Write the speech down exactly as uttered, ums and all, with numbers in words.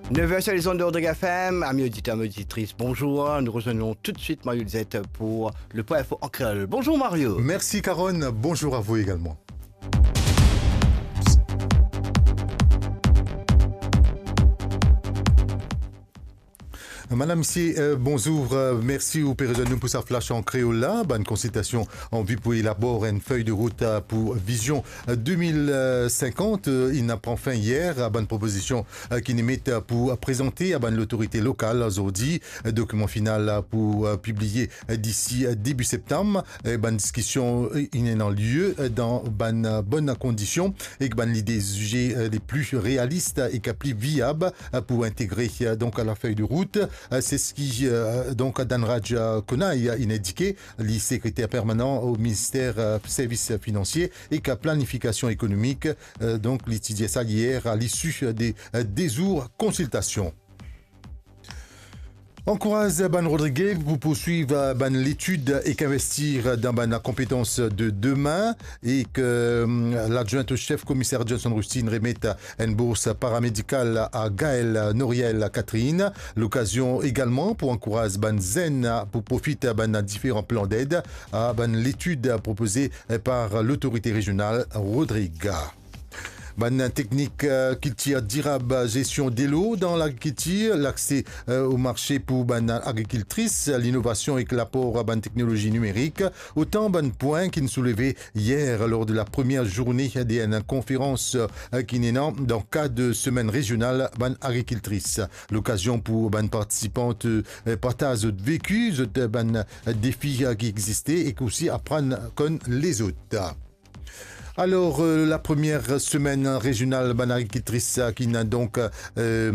Nev er sur les ondes de Rodrigue F M, amis auditeurs, amis auditrices, bonjour. Nous rejoignons tout de suite Mario Lizette pour le point info en créole. Bonjour Mario. Merci Carole, bonjour à vous également. Madame, misie, euh, bonzour. Euh, mersi ou pe rezwenn nou pou sa flash an kreol la. Bann konsiltasion an vi pou elabor enn fey de rout, euh, pou vizion, euh, de mil sinkant, euh, inn pran fin yer. Euh, bann propozision, euh, ki'nn met, euh, pou prezante a bann lotorite lokal zordi. Euh, dokiman final, euh, pou, euh, pibliye, euh, disi, euh, debi septam. Euh, bann diskision, euh, inn ena lie, euh, dan bann, euh, bonn kondision ek bann lide zize, euh, le pli realis ek pli viab, euh, pou integre, euh, donk, la fey de rout. Euh, se seki, euh, donk, Dhanraj, euh, Konai, euh, inn indike, li sekreter permanan o minister, euh, servis finansie ek planifikasion ekonomik. Euh, donk, li ti dir sa yer a lisi de, euh, de zour konsiltasion. Ankouraz bann Rodrige pou pourswiv, euh, bann letid ek investir dan bann konpetans de demin. Ek, euh, ladwint o sef komiser Johnson Rusty inn remet enn bours paramedikal a Gaël Noriel Catherine. Lokazion egalman pou ankouraz bann zenn pou profit bann diferan plan ded a bann letid propoze par lotorite rezional Rodrig. Bann teknik, euh, kiltir dirab, gestion delo dan lagrikiltir, lakse, euh, o marse pou bann agrikiltris, linovasion ek lapor bann teknolozi nimerik, otan bann pwin ki'nn souleve yer lor de la premie zourne de enn konferans, euh, ki'nn ena dan kad semenn rezional bann agrikiltris. Lokazion pou bann partisipan, euh, partaz zot veki, zot, euh, bann, euh, defi, euh, ki existe ek osi aprann konn lezot. Alor, euh, la premie semenn rezional bann agrikiltris, euh, ki'nn donk, euh,